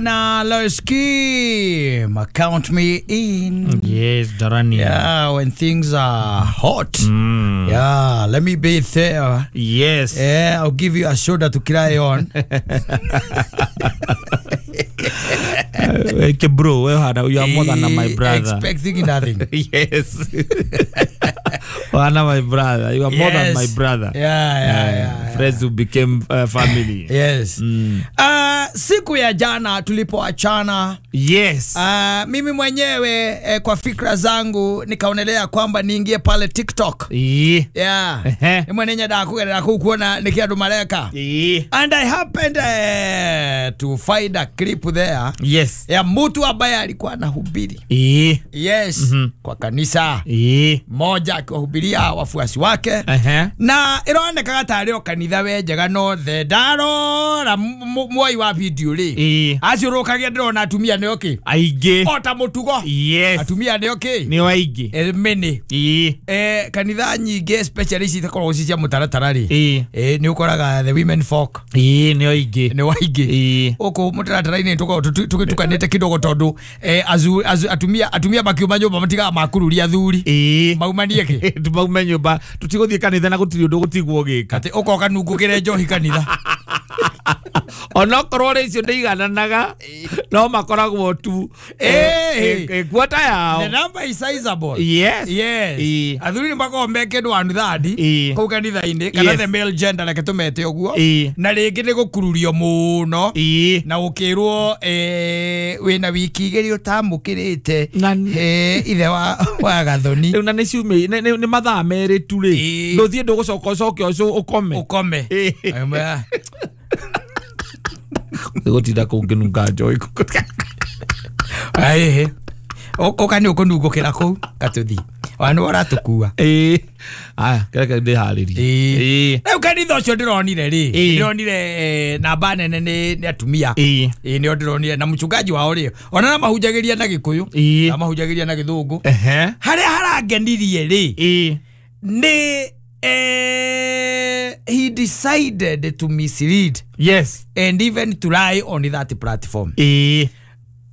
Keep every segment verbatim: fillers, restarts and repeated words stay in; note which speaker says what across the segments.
Speaker 1: Na Loski, count me in.
Speaker 2: Yes, Darani.
Speaker 1: Yeah, when things are hot.
Speaker 2: Mm.
Speaker 1: Yeah, let me be there.
Speaker 2: Yes.
Speaker 1: Yeah, I'll give you a shoulder to cry on.
Speaker 2: Okay, bro, you are more than my brother.
Speaker 1: Expecting nothing.
Speaker 2: Yes. Wana my brother. You are more
Speaker 1: yes.
Speaker 2: than my brother.
Speaker 1: Yeah, yeah, yeah, yeah.
Speaker 2: Friends who became uh, family.
Speaker 1: Yes.
Speaker 2: Mm.
Speaker 1: Uh, siku ya jana tulipoachana.
Speaker 2: Yes.
Speaker 1: Uh, mimi mwenyewe eh, kwa fikra zangu nikaonelea kwamba niingie pale TikTok.
Speaker 2: Yeah.
Speaker 1: Yeah. Ni mwenye ndakugerera kuu kuona nikia andu mareka.
Speaker 2: Yeah.
Speaker 1: And I happened uh, to find a clip there.
Speaker 2: Yes.
Speaker 1: Ya mtu ambaye alikuwa anahubiri.
Speaker 2: Yeah.
Speaker 1: Yes.
Speaker 2: Mm-hmm.
Speaker 1: Kwa kanisa.
Speaker 2: Yeah.
Speaker 1: Moja akiwahubiria wafuasi wake.
Speaker 2: Uh-huh.
Speaker 1: Na ironekaga tarĩ o kanitha we njega no the ndarora mwoi wa video rĩ.
Speaker 2: Yeah.
Speaker 1: Aciũrũkagia ndĩrona atumia nĩ okĩ.
Speaker 2: Aingĩ.
Speaker 1: O ta mũtugo.
Speaker 2: Yes.
Speaker 1: Atumia nĩ okĩ.
Speaker 2: Nĩ aingĩ.
Speaker 1: Eh, many.
Speaker 2: Yeah.
Speaker 1: Eh, kanitha nyingĩ especially ici itakoragwo ci cia mũtaratara rĩ.
Speaker 2: Yeah.
Speaker 1: Eh, nĩ ũkoraga the women folk.
Speaker 2: Yeah, nĩ aingĩ.
Speaker 1: Nĩ waingĩ.
Speaker 2: Yeah.
Speaker 1: Ũkũ mũtaratara-inĩ tũkoragwo tũgĩtukanĩte kidogo tondũ eh, azu, azu, atumia atumia makiuma nyũmba matigaga makururia athuri.
Speaker 2: Yeah.
Speaker 1: Maumanie kĩ?
Speaker 2: Tumaume nyũmba tutigũthiĩ kanitha na gũtirĩ ũndũ gũtigwo gĩka.
Speaker 1: Atĩ ũkoka nungũkĩre njohi kanitha.
Speaker 2: Onokorwo rĩ icio ndĩigananaga no makoragwo tu
Speaker 1: eh
Speaker 2: kwata yao.
Speaker 1: The number is sizable.
Speaker 2: Yes.
Speaker 1: Yes. Athuri nĩ makoragwo me kĩndũ one third kũu kanitha-inĩ kana the male gender reke tũmete ũguo na rĩngĩ nĩ gũkururio mũno na gũkĩrwo eh wĩna wiki igĩrĩ ũtamũkĩrĩte eh ithe wa wa Gathoni.
Speaker 2: Rĩu na nĩ ciumia nĩ mathaa merĩ tu rĩ ndũthiĩ ndũgũcoka ũcoke ũkome
Speaker 1: ũkome.
Speaker 2: Gũtinda kũu ngĩnunga njohi.
Speaker 1: Aĩhĩ ũka nĩ ũkũnungũkĩra kũu gatũthiĩ ona nĩ ũratũkua.
Speaker 2: Ĩĩ aya kĩreke ndĩharĩrie.
Speaker 1: Rĩu kanitha ũcio ndĩronire rĩ ndĩronire namba nene nĩ atumia.
Speaker 2: Ĩĩ
Speaker 1: nĩo ndĩronire na mchungaji wao rĩ ona mahunjagĩria na Gĩkũyũ na mahunjagĩria na Gĩthũngũ. Harĩa harangenirie rĩ nĩ Eh, he decided to mislead.
Speaker 2: Yes.
Speaker 1: And even to lie on that platform.
Speaker 2: Eh.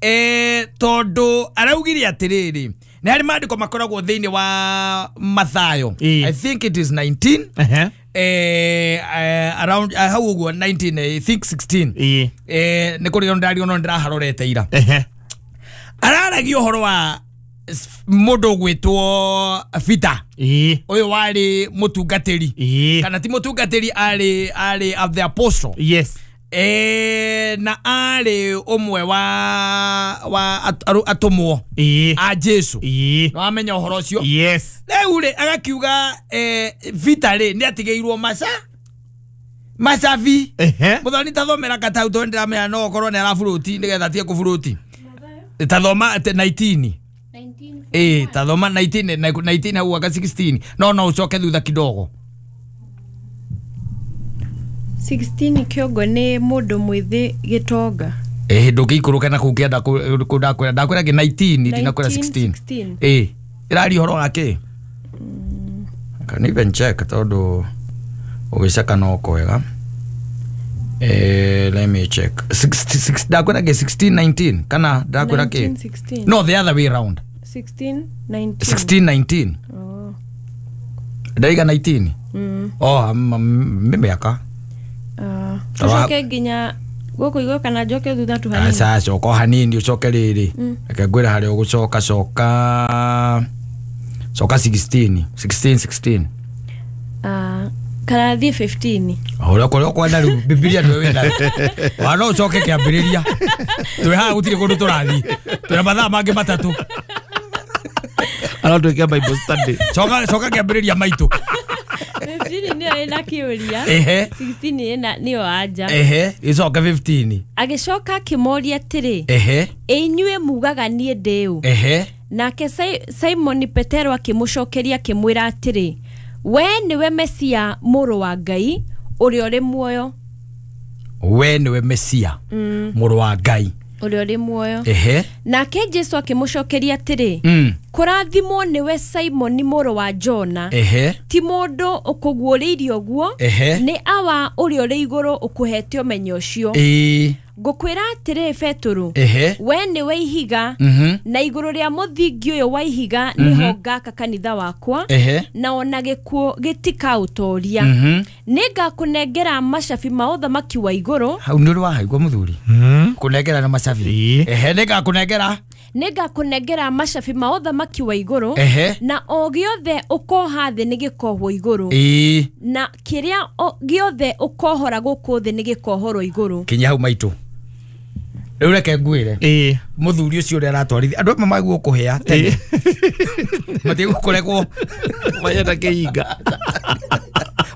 Speaker 1: Eh, tondu araugire atiriri ni hari maandiko makoragwo thiini wa Mathayo.
Speaker 2: E.
Speaker 1: I think it is nineteen.
Speaker 2: Uh-huh.
Speaker 1: Eh, uh, around uh, how uguo nineteen I think sixteen.
Speaker 2: Eh.
Speaker 1: Eh, ni kuri ndari ono ndiraharorete ira.
Speaker 2: Uh-huh.
Speaker 1: Araragia uhoro wa mundu gwitwo Peter.
Speaker 2: Ĩĩ.
Speaker 1: Uyu wari mutungatiri.
Speaker 2: Ĩĩ.
Speaker 1: Kana ti mutungatiri ari ari of the apostle.
Speaker 2: Yes.
Speaker 1: Eh, na ari umwe wa wa atumwo
Speaker 2: Ĩĩ.
Speaker 1: a Jesu.
Speaker 2: Ĩĩ.
Speaker 1: No amenya uhoro ucio.
Speaker 2: Yes.
Speaker 1: Riu ri agakiuga eh Peter ri ni atigeirwo maca macabi.
Speaker 2: Ehe.
Speaker 1: Muthoni tathomera katau tondu ndiramenya no okorwo ni araburuti nigetha atige kuburuti. Tathoma nineteen. Eh, tathoma nineteen nineteen hau aka sixteen. No no ucoke thutha kidogo.
Speaker 3: sixteen kĩongo nĩ mũndũ mwĩthĩ gĩtonga.
Speaker 1: Eh, ndũngĩikũrũka na kũu kĩanda kũ ndakwĩra ndakwĩra kĩ nineteen ndinakwĩra sixteen. Eh, ĩraria ũhoro wa kĩ? I can even check tondu ũgĩceka no kwega. Eh, let me check. sixty-six ndakwĩra kĩ sixteen nineteen kana ndakwĩra kĩ? No, the other way round.
Speaker 3: sixteen nineteen.
Speaker 1: sixteen nineteen.
Speaker 3: Oh.
Speaker 1: Ndaiga nineteen.
Speaker 3: Mm.
Speaker 1: Oh, mĩaka.
Speaker 3: Ah, tucoke nginya gũkũ igũrũ kana njoke thutha tu hanini.
Speaker 1: Aca coka hanini ucoke rĩrĩ. Reke ngwĩre harĩa ũgũcoka coka coka sixteen sixteen sixteen.
Speaker 3: Ah, kana thiĩ fifteen.
Speaker 1: Ũrĩa kũrĩa ũkwenda rĩu Bibilia nĩwe wĩnayo. Wa no ũcoke kĩambĩrĩria. Twĩ haha gũtirĩ kũndũ tũrathiĩ. Twĩna mathaa mangĩ matatũ.
Speaker 2: Aratwĩke Bible study.
Speaker 1: Coka coka kĩambĩrĩria maitũ.
Speaker 3: fifteen nĩyo ĩna kĩũria.
Speaker 1: Ehe.
Speaker 3: sixteen ĩna nĩyo anja.
Speaker 1: Ehe, icoke fifteen.
Speaker 3: Agĩcoka akĩmoria atĩrĩ.
Speaker 1: Ehe.
Speaker 3: Inyuĩ mugaga niĩ ndĩ ũ?
Speaker 1: Ehe.
Speaker 3: Nake Simon Petero akĩmũcokeria akĩmwĩra atĩrĩ, we nĩwe Mesia mũrũ wa Ngai ũrĩa ũrĩ muoyo.
Speaker 1: We nĩwe Mesia mũrũ wa Ngai
Speaker 3: ũrĩa ũrĩ muoyo.
Speaker 1: Ehe.
Speaker 3: Nake Jesu akĩmũcokeria atĩrĩ,
Speaker 1: mm.
Speaker 3: kũrathimwo nĩwe Simoni mũrũ wa Jona.
Speaker 1: Ehe.
Speaker 3: Ti mũndũ ũkũguũrĩirie ũguo,
Speaker 1: Ehe.
Speaker 3: nĩ awa ũrĩa ũrĩ igũrũ ũkũhete ũmenyo ũcio.
Speaker 1: Ĩĩ.
Speaker 3: Ngũkwĩra atĩrĩ Petũrũ,
Speaker 1: Ehe.
Speaker 3: we nĩwe ihiga,
Speaker 1: Mhm.
Speaker 3: na igũrũ rĩa mũthingi ũyũ wa ihiga nĩho ngaka kanitha wakwa,
Speaker 1: Ehe.
Speaker 3: na ona gĩkuũ gĩtikaũtoria.
Speaker 1: Mhm.
Speaker 3: Nĩngakũnengera macabi ma ũthamaki wa igũrũ.
Speaker 1: Hau nĩ ũrĩ wahaigua mũthuri kũnengera na macabi.
Speaker 2: Ĩĩ.
Speaker 1: Ehe, nĩngakũnengera.
Speaker 3: Nĩngakũnengera macabi ma ũthamaki wa igũrũ,
Speaker 1: Ehe.
Speaker 3: na o gĩothe ũkoha thĩ nĩgĩkohwo igũrũ,
Speaker 1: Ĩĩ.
Speaker 3: na kĩrĩa o- gĩothe ũkohora gũkũ thĩ nĩgĩkohorwo igũrũ.
Speaker 1: Kinya hau maitũ. Rĩu reke ngwĩre
Speaker 2: Ĩĩ.
Speaker 1: mũthuri ũcio ũrĩa aratwarithia andũ amwe maguo kũhĩa tene matigũkũrekwo
Speaker 2: Mayenda kĩhinga.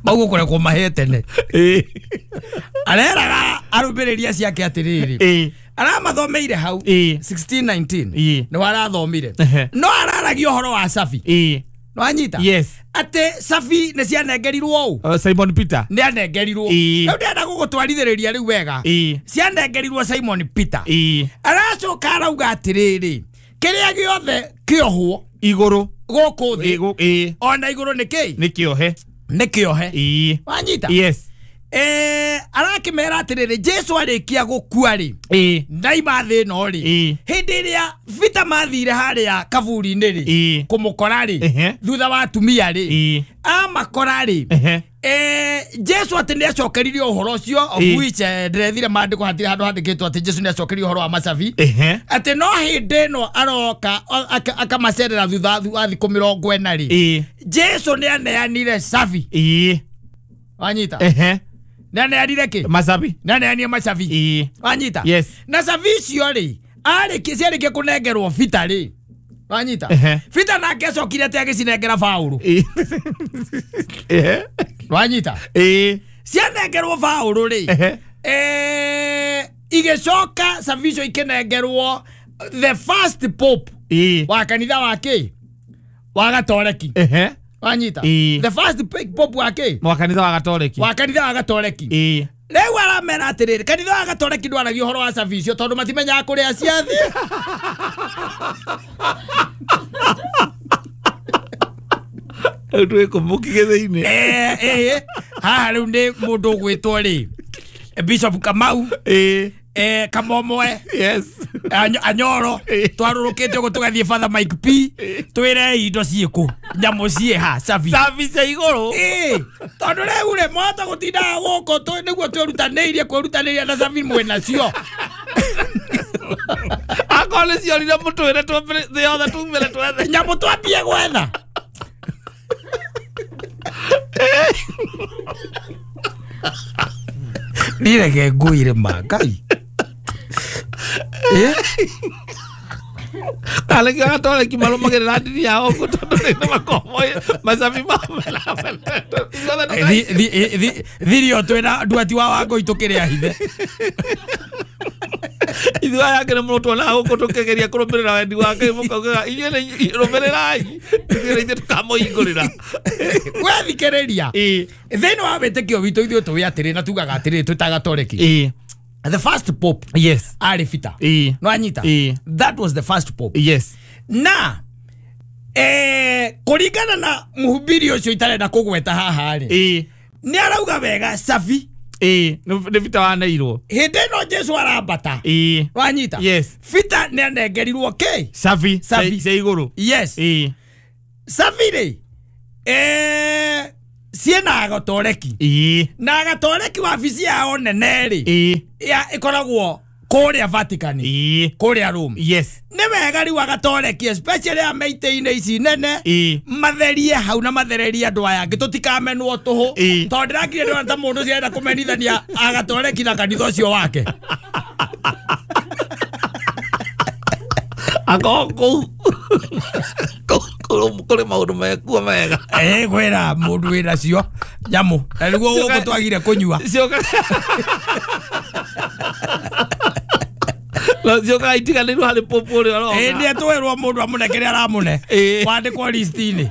Speaker 1: maguo kũrekwo mahĩe tene.
Speaker 2: Ĩĩ.
Speaker 1: Areraga arũmĩrĩri acio ake atĩrĩrĩ,
Speaker 2: Ĩĩ.
Speaker 1: aramathomeire hau
Speaker 2: Ĩĩ.
Speaker 1: sixteen nineteen
Speaker 2: Ĩĩ.
Speaker 1: nĩ warathomire,
Speaker 2: Ehe.
Speaker 1: no araragia ũhoro wa cabi.
Speaker 2: Ĩĩ.
Speaker 1: Nĩwanyita?
Speaker 2: Yes.
Speaker 1: Atĩ cabi nĩ cianengerirwo ũ?
Speaker 2: Uh, Simon Peter.
Speaker 1: Nĩ anengerirwo.
Speaker 2: Ĩĩ.
Speaker 1: Rĩu ndĩrenda gũgũtwarithĩrĩria rĩu wega.
Speaker 2: Ĩĩ.
Speaker 1: Cianengerirwo Simon Peter.
Speaker 2: Ĩĩ.
Speaker 1: Aracoka arauga atĩrĩrĩ, kĩrĩa gĩothe kĩohwo
Speaker 2: Igũrũ.
Speaker 1: gũkũ thĩ
Speaker 2: Ĩĩ, gũ- Ĩĩ.
Speaker 1: ona igũrũ nĩ kĩ?
Speaker 2: Nĩ kĩohe.
Speaker 1: Nĩ kĩohe.
Speaker 2: Ĩĩ.
Speaker 1: Wanyita?
Speaker 2: Yes.
Speaker 1: Eh, arakĩmera atĩrĩrĩ, Jesu arĩkia gũkua rĩ,
Speaker 2: Ĩĩ.
Speaker 1: ndaima thĩ ĩno rĩ,
Speaker 2: Ĩĩ.
Speaker 1: hĩndĩ ĩrĩa Peter mathire harĩa kaburi-inĩ rĩ,
Speaker 2: Ĩĩ.
Speaker 1: kũmũkora rĩ,
Speaker 2: Ehe.
Speaker 1: thutha wa atumia rĩ,
Speaker 2: Ĩĩ.
Speaker 1: amakora rĩ,
Speaker 2: Ehe.
Speaker 1: eh, Jesu atĩ nĩ acokeririe ũhoro ũcio, of
Speaker 2: Ĩĩ.
Speaker 1: which eh, ndĩrethire maandĩko hatirĩ handũ handĩkĩtwo atĩ Jesu nĩ acokeririe ũhoro wa macabi,
Speaker 2: Ehe.
Speaker 1: atĩ no hĩndĩ ĩno aroka o- aka- akamacerera thutha wa thikũ mĩrongo ĩna rĩ,
Speaker 2: Ĩĩ.
Speaker 1: Jesu nĩ aneanire cabi.
Speaker 2: Ĩĩ.
Speaker 1: Wanyita?
Speaker 2: Ehe.
Speaker 1: Nĩ aneanire kĩ?
Speaker 2: Macabi.
Speaker 1: Nĩ aneanire macabi.
Speaker 2: Ĩĩ.
Speaker 1: Wanyita?
Speaker 2: Yes.
Speaker 1: Na cabi icio rĩ, arĩkia ciarĩkia kũnengerwo Peter rĩ, wanyita?
Speaker 2: Ehe.
Speaker 1: Peter nake acokire atĩ agĩcinengera Paũlũ.
Speaker 2: Ĩĩ. Ehe.
Speaker 1: Wanyita?
Speaker 2: Ĩĩ.
Speaker 1: Cianengerwo Paũlũ rĩ,
Speaker 2: Ehe.
Speaker 1: eh, igĩcoka cabi icio ikĩnengerwo the first pope
Speaker 2: Ĩĩ.
Speaker 1: wa kanitha wa kĩ? Wa Gatoreki.
Speaker 2: Ehe.
Speaker 1: Wanyita?
Speaker 2: Ĩĩ.
Speaker 1: The first pope wa kĩ?
Speaker 2: Wa kanitha wa Gatoreki.
Speaker 1: Wa kanitha wa Gatoreki.
Speaker 2: Ĩĩ.
Speaker 1: Rĩu aramera atĩrĩrĩ, kanitha wa Gatoreki ndwaragia ũhoro wa cabi icio tondũ matimenyaga kũrĩa ciathiĩ.
Speaker 2: Rĩu twĩkũmũkige thĩinĩ.
Speaker 1: Eh, eh, haha rĩu nĩ mũndũ ũgwĩtwo rĩ, Bishop Kamau,
Speaker 2: Ĩĩ.
Speaker 1: eh, Kamomoe,
Speaker 2: Yes.
Speaker 1: Anyo- Anyoro, twarũrũkĩte ũguo tũgathiĩ Father Mike P, twĩre indo ciĩkũ, nyamũ ciĩha, cabi.
Speaker 2: Cabi cia igũrũ.
Speaker 1: Ĩĩ, tondũ rĩu rĩ, mwahota gũtindaga gũkũ tũ- nĩguo twĩrutanĩirie kwĩrutanĩria na cabi mwĩnacio.
Speaker 2: Akorwo nĩ ciorire mũtwĩre twambĩrĩ- thĩ yothe tumĩre twethe.
Speaker 1: Nyamũ twambie gwetha. Ndireke ngwĩre ma Ngai. Eh?
Speaker 2: Kana kĩo Gatoreki marũmagĩrĩra ndini yao ũguo tondũ nĩ makomoĩ macabi mao mena-
Speaker 1: Thi- thi- thi- thirio twĩna nduati wa Wangũi tũkĩrĩa hithe.
Speaker 2: Ithuĩ aya angĩ nĩ mũno tuonaga gũkũ tũkĩgeria kũrũmĩrĩra wendi wa Ngai mũkaugaga inyuĩ nĩ rũmĩrĩrai ithuĩ nĩ ithuĩ tũkamũhingũrĩra.
Speaker 1: Wethikĩrĩria.
Speaker 2: Ĩĩ.
Speaker 1: Thĩinĩ wa wĩtĩkio witũ ithuĩ tũĩ atĩrĩ na tugaga atĩrĩrĩ twĩ ta Gatoreki.
Speaker 2: Ĩĩ.
Speaker 1: The first pope
Speaker 2: Yes.
Speaker 1: arĩ Peter.
Speaker 2: Ĩĩ.
Speaker 1: Nĩwanyita?
Speaker 2: Ĩĩ.
Speaker 1: That was the first pope.
Speaker 2: Yes.
Speaker 1: Na eh, kũringana na mũhubiri ũcio itarenda kũgweta haha rĩ,
Speaker 2: Ĩĩ.
Speaker 1: nĩ arauga wega cabi
Speaker 2: Ĩĩ. Nĩ nĩ Peter waneirwo.
Speaker 1: hĩndĩ ĩno Jesu arambata.
Speaker 2: Ĩĩ.
Speaker 1: Wanyita?
Speaker 2: Yes.
Speaker 1: Peter nĩ anengerirwo kĩ?
Speaker 2: Cabi.
Speaker 1: Cabi.
Speaker 2: Cia igũrũ.
Speaker 1: Yes.
Speaker 2: Ĩĩ.
Speaker 1: Cabi rĩ, eh, ciĩna Gatoreki.
Speaker 2: Ĩĩ.
Speaker 1: Na Gatoreki wabici yao nene rĩ,
Speaker 2: Ĩĩ.
Speaker 1: ya ĩkoragwo kũrĩa Vatican,
Speaker 2: Ĩĩ.
Speaker 1: kũrĩa Rome.
Speaker 2: Yes.
Speaker 1: Nĩ wega rĩu Agatoreki especially a meitĩ-inĩ ici nene,
Speaker 2: Ĩĩ.
Speaker 1: matherie hau na mathererie andũ aya angĩ tũtikamenwo tũhũ,
Speaker 2: Ĩĩ.
Speaker 1: tondũ ndĩrakire ndĩrona ta mũndũ ũcio arenda kũmenithania Agatoreki na kanitha ũcio wake.
Speaker 2: Akorwo kũu kũu kũrĩ maũndũ mekuo mega.
Speaker 1: Eh, kwĩra mũndũ wĩnacio nyamũ na nĩguo gũkũ twagire kũnyua.
Speaker 2: Cioka no ciokaga itiganĩirwo harĩ pope ũrĩa ũroka.
Speaker 1: Ĩĩ, nĩ atwĩrwo mũndũ amũne kĩrĩa aramũne
Speaker 2: Ĩĩ.
Speaker 1: wandĩkwo list-inĩ.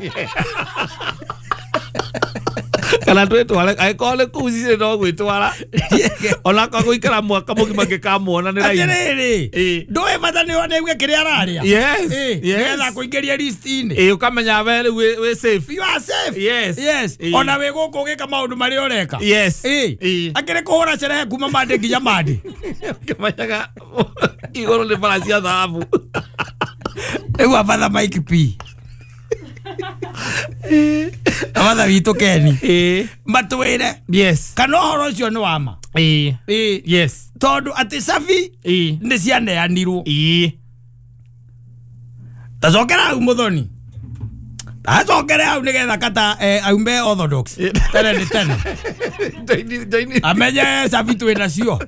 Speaker 2: Kana twĩtware angĩkorwo nĩ kũu cirĩ no gwĩtwara ona korwo gũikara mwaka mũgima ngĩkamuona nĩ raini.
Speaker 1: Atĩrĩrĩ, ndũĩ bata nĩ one kĩrĩa ararĩa.
Speaker 2: Yes, yes.
Speaker 1: Nĩgetha kũingĩria list-inĩ.
Speaker 2: Ĩĩ, ũkamenya we rĩu wĩ wĩ safe.
Speaker 1: You are safe.
Speaker 2: Yes.
Speaker 1: Yes.
Speaker 2: Ĩĩ.
Speaker 1: Ona wĩ gũkũ ũgĩka maũndũ marĩa ũreka.
Speaker 2: Yes.
Speaker 1: Ĩĩ.
Speaker 2: Ĩĩ.
Speaker 1: Akĩrĩ kũhũra cerehe kuma Monday nginya Monday.
Speaker 2: Ũkĩmenyaga igũrũ nĩ bara cia thahabu.
Speaker 1: Rĩu abatha Mike P. Abatha witũ Ken.
Speaker 2: Ĩĩ.
Speaker 1: Matwĩre.
Speaker 2: Yes.
Speaker 1: Kana ũhoro ũcio nĩ wa ma.
Speaker 2: Ĩĩ.
Speaker 1: Ĩĩ.
Speaker 2: Yes.
Speaker 1: Tondũ atĩ cabi
Speaker 2: Ĩĩ.
Speaker 1: nĩ cianeanirwo.
Speaker 2: Ĩĩ.
Speaker 1: Tacokera hau mũthoni. Tacokere hau nĩgetha kata eh, aume orthodox. Tene nĩ tene.
Speaker 2: Joini joini.
Speaker 1: Amenye cabi twĩ nacio.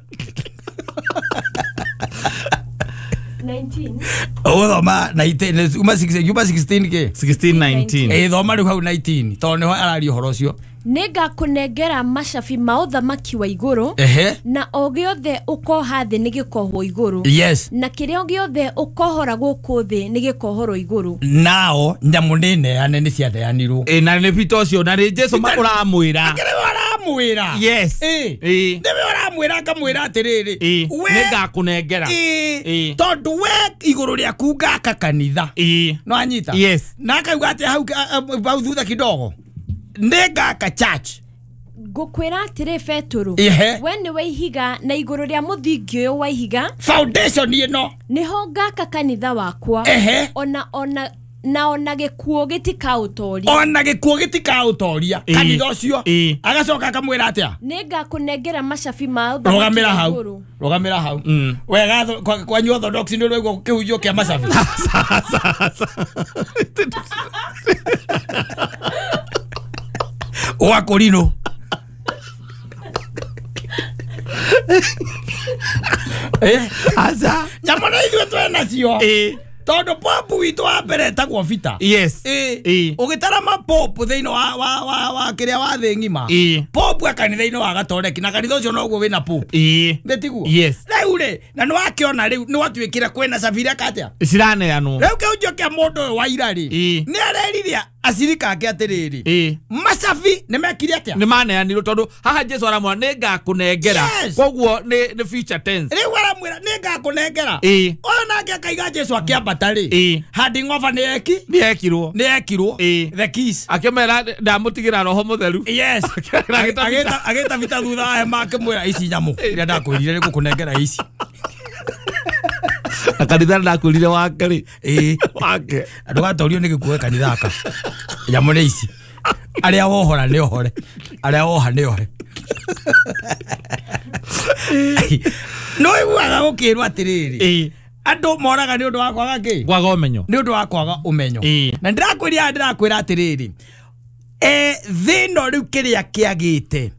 Speaker 3: nineteen.
Speaker 1: Ũgũthoma nineteen, uma six, uma sixteen kĩ?
Speaker 2: sixteen nineteen.
Speaker 1: Ĩĩ, thoma rĩu hau nineteen tondũ nĩho araria ũhoro ũcio.
Speaker 3: Nĩngakũnengera macabi ma ũthamaki wa igũrũ.
Speaker 1: Ehe.
Speaker 3: Na o gĩothe ũkoha thĩ nĩ gĩkohwo igũrũ.
Speaker 1: Yes.
Speaker 3: Na kĩrĩa gĩothe ũkohora gũkũ thĩ nĩ gĩkohorwo igũrũ.
Speaker 1: Nao nyamũ nĩ neane nĩ cianeanirwo.
Speaker 2: Ĩĩ, na nĩ Peter ũcio na nĩ Jesu ũramwĩra.
Speaker 1: Akĩrĩ we aramwĩra.
Speaker 2: Yes.
Speaker 1: Ĩĩ.
Speaker 2: Ĩĩ.
Speaker 1: Nĩwe ũramwĩra akamwĩra atĩrĩrĩ.
Speaker 2: Ĩĩ.
Speaker 1: We
Speaker 2: Nĩngakũnengera.
Speaker 1: Ĩĩ.
Speaker 2: Ĩĩ.
Speaker 1: Tondũ we igũrũ rĩaku ngaka kanitha.
Speaker 2: Ĩĩ.
Speaker 1: No anyita.
Speaker 2: Yes.
Speaker 1: Na akauga atĩ hau hau thutha kidogo. Nĩngaka church.
Speaker 3: Ngũkwĩra atĩrĩ Petũrũ,
Speaker 1: Ehe.
Speaker 3: we nĩwe ihiga na igũrũ rĩa mũthingi ũyũ wa ihiga
Speaker 1: Foundation ĩno.
Speaker 3: nĩho ngaka kanitha wakwa.
Speaker 1: Ehe.
Speaker 3: Ona ona na ona gĩkuũ gĩtikaũtoria.
Speaker 1: Ona gĩkuũ gĩtikaũtoria
Speaker 2: Ĩĩ.
Speaker 1: kanitha ũcio.
Speaker 2: Ĩĩ.
Speaker 1: Agacoka akamwĩra atĩa?
Speaker 3: Nĩngakũnengera macabi ma ũthamaki
Speaker 1: Rũgamĩra
Speaker 3: wa
Speaker 1: hau.
Speaker 3: igũrũ.
Speaker 1: Rũgamĩra hau.
Speaker 2: Mm.
Speaker 1: Wega kwanyu orthodox nĩ ũraigua kĩhunjio kĩa macabi. Wa kũrinũ. Eh?
Speaker 2: Aca.
Speaker 1: Nyamũ na ithuĩ twĩ nacio.
Speaker 2: Ĩĩ.
Speaker 1: Tondũ popu witũ wa mbere etagwo Peter.
Speaker 2: Yes.
Speaker 1: Ĩĩ.
Speaker 2: Ĩĩ.
Speaker 1: Ũgĩtara mapopu thĩinĩ wa wa wa wa kĩrĩa wa thĩ ng'ima.
Speaker 2: Ĩĩ.
Speaker 1: Popu e kanitha-inĩ wa Gatoreki na kanitha ũcio noguo wĩna popu.
Speaker 2: Ĩĩ.
Speaker 1: Nĩ tiguo?
Speaker 2: Yes.
Speaker 1: Rĩu rĩ, na nĩ wakĩona rĩu nĩ watuĩkire kwĩna cabi iria atĩa?
Speaker 2: Ciraneanwo.
Speaker 1: Rĩu kĩhunjio kĩa mũndũ ũyũ wa ira rĩ,
Speaker 2: Ĩĩ.
Speaker 1: nĩ arerire acirika ake atĩrĩrĩ,
Speaker 2: Ĩĩ.
Speaker 1: macabi nĩ mekire atĩa?
Speaker 2: Nĩ maneanirwo tondũ haha Jesu aramwĩra nĩngakũnengera.
Speaker 1: Yes.
Speaker 2: Koguo nĩ nĩ future tense.
Speaker 1: Rĩu aramwĩra nĩngakũnengera.
Speaker 2: Ĩĩ.
Speaker 1: Ũyũ nake akaiga Jesu akĩambata rĩ,
Speaker 2: Ĩĩ.
Speaker 1: handing over nĩ eki?
Speaker 2: Nĩ ekirwo.
Speaker 1: Nĩ ekirwo.
Speaker 2: Ĩĩ.
Speaker 1: The keys.
Speaker 2: Akĩmera ndamũtigĩra roho mũtheru.
Speaker 1: Yes.
Speaker 2: Agĩta
Speaker 1: Agĩta agĩta Peter thutha wa hema akĩmwĩra ici nyamũ iria ndakwĩrire nĩ ngũkũnengera ici.
Speaker 2: Na kanitha ndakwĩrire wake rĩ.
Speaker 1: Ĩĩ.
Speaker 2: Wake.
Speaker 1: Ndũgatorio nĩ gĩkuũ kanitha aka. Nyamũ nĩ ici. Arĩa wohora nĩ ohore. Arĩa woha nĩ ohe. No iguaga gũkĩrwo atĩrĩrĩ.
Speaker 2: Ĩĩ.
Speaker 1: Andũ moraga nĩ ũndũ wa kwaga kĩ?
Speaker 2: Kwaga ũmenyo.
Speaker 1: Nĩ ũndũ wa kwaga ũmenyo.
Speaker 2: Ĩĩ.
Speaker 1: Na ndĩrakwĩra ndĩrakwĩra atĩrĩrĩ. Eh thĩ ĩno rĩu kĩrĩa kĩagĩte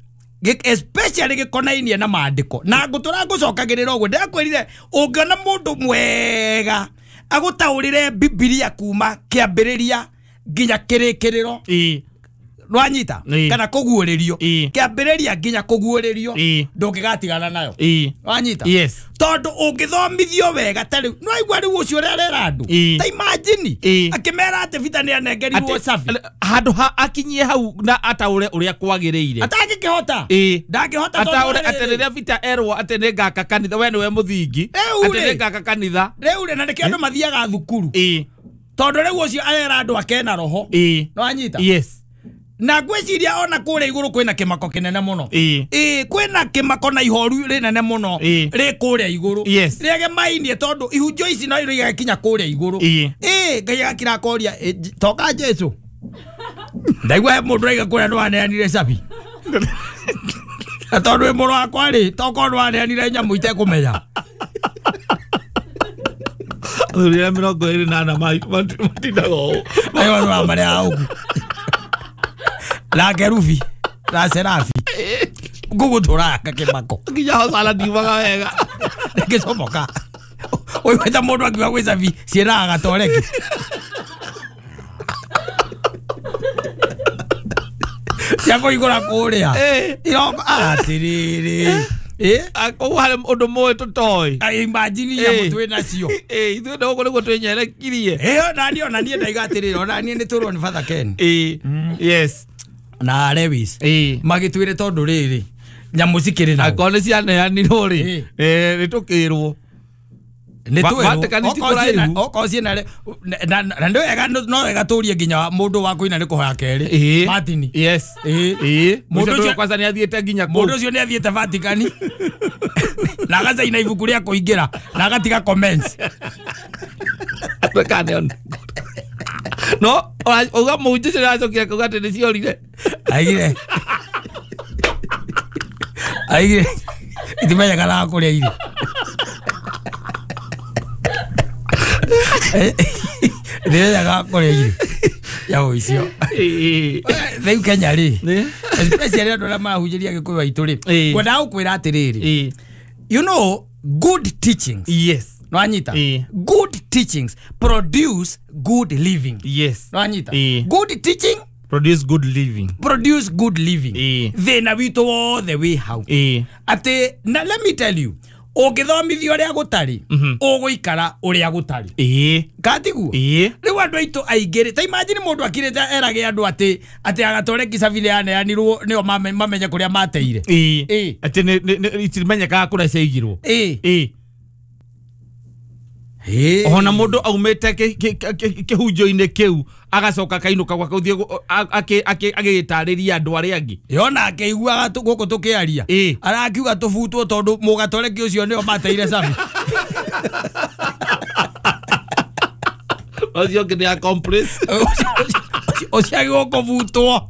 Speaker 1: especially gĩkonainie na maandĩko na ngũtũra ngũcokagĩrĩra ũguo ndĩrakwĩrire ũngĩona mũndũ mwega agũtaũrĩre Bibilia kuma kĩambĩrĩria nginya kĩrĩkĩrĩro.
Speaker 2: Ĩĩ.
Speaker 1: Nwanyita
Speaker 2: Ĩĩ.
Speaker 1: kana kũguũrĩrio
Speaker 2: Ĩĩ.
Speaker 1: kĩambĩrĩria nginya kũguũrĩrio
Speaker 2: Ĩĩ.
Speaker 1: ndũngĩgatigana nayo.
Speaker 2: Ĩĩ.
Speaker 1: Wanyita?
Speaker 2: Yes.
Speaker 1: Tondũ ũngĩthomithio wega ta rĩu nĩwaigua rĩu ũcio ũrĩa arera andũ
Speaker 2: Ĩĩ.
Speaker 1: ta imagine
Speaker 2: Ĩĩ.
Speaker 1: akĩmera atĩ Peter nĩ anengerirwo cabi
Speaker 2: Handũ ha akinyie hau na ataũre ũrĩa kwagĩrĩire.
Speaker 1: atangĩkĩhota
Speaker 2: Ĩĩ.
Speaker 1: ndangĩhota tondũ
Speaker 2: Ataũre
Speaker 1: rĩrĩ.
Speaker 2: atĩ rĩrĩa Peter erwo atĩ nĩngaka kanitha we nĩwe mũthingi
Speaker 1: Rĩu
Speaker 2: atĩ
Speaker 1: rĩ.
Speaker 2: nĩngaka kanitha.
Speaker 1: Rĩu rĩ na nĩkĩo andũ mathiaga thukuru
Speaker 2: Ĩĩ.
Speaker 1: tondũ rĩu ũcio arera andũ akena roho.
Speaker 2: Ĩĩ.
Speaker 1: Nĩwanyita?
Speaker 2: Yes.
Speaker 1: Na ngwĩciria ona kũrĩa igũrũ kwĩna kĩmako kĩnene mũno.
Speaker 2: Ĩĩ.
Speaker 1: Ĩĩ, kwĩna kĩmako na ihoru rĩnene mũno
Speaker 2: Ĩĩ.
Speaker 1: rĩ kũrĩa igũrũ.
Speaker 2: Yes.
Speaker 1: Rĩegemainie tondũ ihunjio ici no igagĩkinya kũrĩa igũrũ.
Speaker 2: Ĩĩ.
Speaker 1: Ĩĩ, Ngai agakira akoria, toka Jesu. Ndaigua he mũndũ raiga kũrĩa nĩwaneanire cabi. Na tondũ wĩ mũrũ wakwa rĩ, tokorwo nĩwaneanire nyamũ itekũmenya.
Speaker 2: Athuri arĩa mĩrongo ĩrĩ na ana matindaga ũũ.
Speaker 1: Ayo nĩ wa marĩa ũguo. Na kerubi na serafi ngũgũtũraka kĩmako
Speaker 2: Nginya hosana ndiumaga wega.
Speaker 1: ngĩcomoka ũiguĩte mũndũ akiuga gwĩ cabi ciĩraga gatoreki. Cia kũhingũra kũrĩa
Speaker 2: Ĩĩ.
Speaker 1: iroko atĩrĩrĩ. Ĩĩ.
Speaker 2: Koguo harĩ ũndũ mũĩ tũtoĩ.
Speaker 1: Imagine nyamũ twĩ nacio.
Speaker 2: Ĩĩ, ithuĩ nĩ gũkũ nĩguo twĩnyerekirie.
Speaker 1: Ĩyo naniĩ ona niĩ ndaiga atĩrĩrĩ ona niĩ nĩ tũrwo nĩ Father Ken.
Speaker 2: Ĩĩ. Yes.
Speaker 1: Na Lewis
Speaker 2: Ĩĩ.
Speaker 1: Magĩtwĩre tondũ rĩrĩ nyamũ cikĩrĩ nao.
Speaker 2: Akorwo nĩ cianeanirwo rĩ,
Speaker 1: Ĩĩ.
Speaker 2: eh, nĩ tũkĩrwo.
Speaker 1: Nĩ
Speaker 2: Va-
Speaker 1: twĩrwo.
Speaker 2: Vatican ti
Speaker 1: Okorwo ciĩna-
Speaker 2: kũraihu.
Speaker 1: okorwo ciĩna re- na- na na nĩ wega no wega tũrie nginya mũndũ wa kũina nĩ kũhoya kerĩ.
Speaker 2: Ĩĩ.
Speaker 1: Martin.
Speaker 2: Yes.
Speaker 1: Ĩĩ.
Speaker 2: Ĩĩ.
Speaker 1: Mũndũ
Speaker 2: Mũndũ
Speaker 1: ũcio-
Speaker 2: ũcio kwanza nĩ athiĩte nginya kũu.
Speaker 1: Mũndũ ũcio nĩ athiĩte Vatican na agacaina ibuku rĩa kũingĩra na agatiga comments.
Speaker 2: Ndũkaneone. No ora- uga mũhunjia ũcio nĩaracokire kuga atĩ nĩciorire.
Speaker 1: Aigire aigire itimenyekanaga kũrĩa irĩ. Itimenyekaga kũrĩa irĩ nyamũ icio.
Speaker 2: Ĩĩ.
Speaker 1: Rĩu Kenya rĩ,
Speaker 2: Ĩĩ.
Speaker 1: especially andũ arĩa marahunjĩria Gĩkũyũ aitũ rĩ,
Speaker 2: Ĩĩ.
Speaker 1: ngwendaga gũkwĩra atĩrĩrĩ,
Speaker 2: Ĩĩ.
Speaker 1: you know good teachings,
Speaker 2: Yes.
Speaker 1: nwanyita,
Speaker 2: Ĩĩ.
Speaker 1: good teachings produce good living.
Speaker 2: Yes.
Speaker 1: Nwanyita,
Speaker 2: Ĩĩ.
Speaker 1: good teaching
Speaker 2: Produce good living.
Speaker 1: Produce good living.
Speaker 2: Ĩĩ.
Speaker 1: Thĩna witũ wothe wĩ hau,
Speaker 2: Ĩĩ.
Speaker 1: atĩ na let me tell you, ũngĩthomithio ũrĩa gũtarĩ, ũgũikara ũrĩa gũtarĩ.
Speaker 2: Ĩĩ.
Speaker 1: Katiguo?
Speaker 2: Ĩĩ.
Speaker 1: Rĩu andũ aitũ aingĩ rĩ, ta imagine mũndũ akirĩte erage andũ atĩ atĩ agatore Kisavi yaneanirwo nĩo mame- mamenye kũrĩa mateire.
Speaker 2: Ĩĩ.
Speaker 1: Ĩĩ.
Speaker 2: Atĩ nĩ- nĩ- nĩ- itimenyekaga kũrĩa ciaigirwo.
Speaker 1: Ĩĩ.
Speaker 2: Ĩĩ.
Speaker 1: Ĩĩ.
Speaker 2: Ona mũndũ aumĩte kĩ- kĩ- kĩ- kĩhunjio-inĩ kĩu agacoka akainũka gwake ũthiĩ gũ- a- akĩ- akĩ- agĩtarĩria andũ arĩa angĩ.
Speaker 1: Yona akĩiguaga tũ- gũkũ tũkĩaria,
Speaker 2: Ĩĩ.
Speaker 1: arakiuga tũbutwo tondũ mũgatoreki ũcio nĩo mateire cabi.
Speaker 2: Ũcio ũngĩ nĩ accomplice.
Speaker 1: Ũcio agĩrĩirwo kũbutwo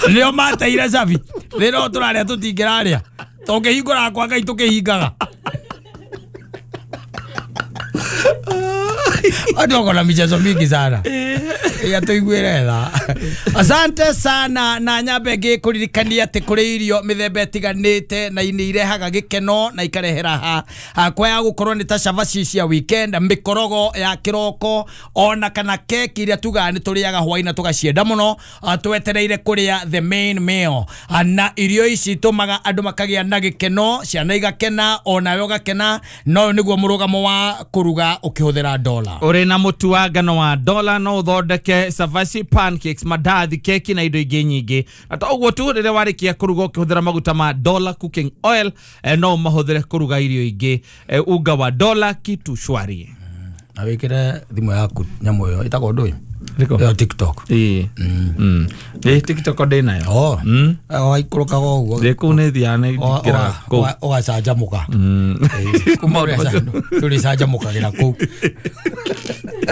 Speaker 1: nĩo mateire cabi. Thĩna ũyũ tũrarĩa tũtingĩrarĩa, tũngĩhingũraga kwa Ngai tũkĩhingaga. Watu wako na michezo mingi sana ya tuiguire tha. Asante sana na nyambe ngĩkũririkania atĩ kũrĩ irio mĩthemba ĩtiganĩte na nĩ irehaga gĩkeno na ikarehera ha hakwa ya gũkorwo nĩ ta cabaci cia weekend, mĩkorogo ya kĩroko ona kana keki iria tugaga nĩ tũrĩaga hwaĩ na tũgacienda mũno, ah, twetereire kũrĩa the main meal. Ah, na irio ici itũmaga andũ makagĩa na gĩkeno, ciana igakena onawe ũgakena, na ũyũ nĩguo mũrũgamo wa kũruga ũkĩhũthĩra dola.
Speaker 2: Ũrĩ na mũtu wa ngano wa dola no ũthondeke cabaci, pancakes, mandathi, keki na indo ingĩ nyingĩ. Na to ũguo tu, rĩrĩa warĩkia kũruga ũkĩhũthĩra maguta ma Dola cooking oil, eh, no ũmahũthĩre kũruga irio ingĩ. Eh, unga wa Dola kitu shwari.
Speaker 1: Na wĩkĩre thimũ yaku nyamũ ĩyo ĩtagwo ndũĩ?
Speaker 2: Ĩrĩkũ?
Speaker 1: Ĩyo TikTok.
Speaker 2: Ĩĩ. Mm. Ĩĩ, TikTok ndĩ nayo.
Speaker 1: Oh.
Speaker 2: Mm.
Speaker 1: Waikũrũkaga ũguo.
Speaker 2: Ndĩ kũu nĩ thiaga nĩ
Speaker 1: Ũga-
Speaker 2: ndingĩraga kũu.
Speaker 1: ũga- ũgacanjamũka.
Speaker 2: Mm.
Speaker 1: Ĩĩ, kuma
Speaker 2: Maũndũ macio.
Speaker 1: tũrĩcanjamũkagĩra kũu.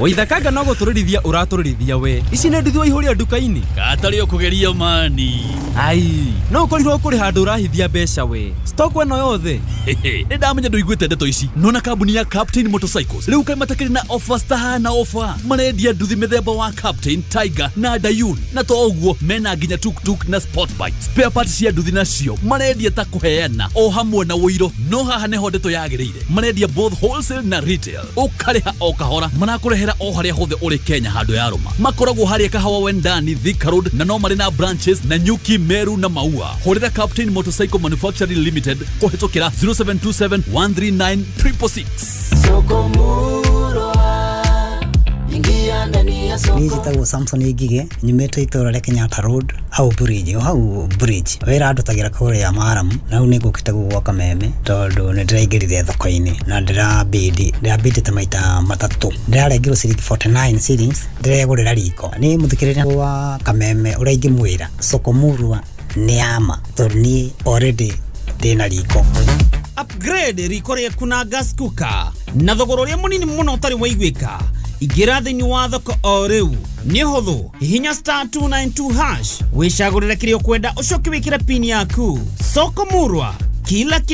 Speaker 4: Waithakanga no gũtũrĩrithia ũratũrĩrithia we. Ici nĩ nduthi waihũria nduka-inĩ.
Speaker 5: Katarĩ ũkũgeria mani.
Speaker 4: Ai, no ũkorirwo kũrĩ handũ ũrahithia mbeca we. Stock ĩno yothe.
Speaker 5: Nĩ ndamenya ndũiguĩte ndeto ici. Nona kambuni ya Captain Motorcycles rĩu kaĩ matakĩrĩ na offers tahana offer. Marendia nduthi mĩthemba wa Captain, Tiger na Dayun, na to ũguo mena nginya tuktuk na sport bike. Spare parts cia nduthi nacio marendia ta kũheana o hamwe na ũiro. No haha nĩho ndeto yagĩrĩire, marendia both wholesale na retail, ũkarĩha o kahora, marakũrehera o harĩa hothe ũrĩ Kenya handũ ya rũma. Makoragwo harĩa Kahawa Wendani, Thika Road, na no marĩ na branches na Nyuki, Meru na Maua. Hũrĩra Captain Motorcycle Manufacturing Limited kũhĩtũkĩra zero seven two seven one three nine triple six.
Speaker 6: Niĩ njĩtagwo Samson Ngige, nyumĩte itũũra rĩa Kenyatta Road, hau bridge, o hau bridge. Wĩra ndutagĩra kũrĩa Maramu, na rĩu nĩ ngũkĩte gũkũ gwa Kameme tondũ nĩ ndĩraingĩrire thoko-inĩ na ndĩrabidi, ndĩrabidĩte maita matatũ. Ndĩrarengirwo ciringi forty nine shillings, ndĩregũrĩra riko. Niĩ mũthikĩrĩria wa Kameme ũrĩa ingĩmwĩra, soko murwa nĩ ya ma, tondũ niĩ already ndĩna riko.
Speaker 7: Upgrade riko rĩaku na gas cooker na thogora ũrĩa mũnini mũno ũtarĩ waiguĩka. Ingĩra thĩinĩ wa thoko o rĩu nĩ hũthũ, hihinya star two nine two hash wĩcagũrĩre kĩrĩa ũkwenda ũcoke wĩkĩre pin yaku. Soko murwa, kila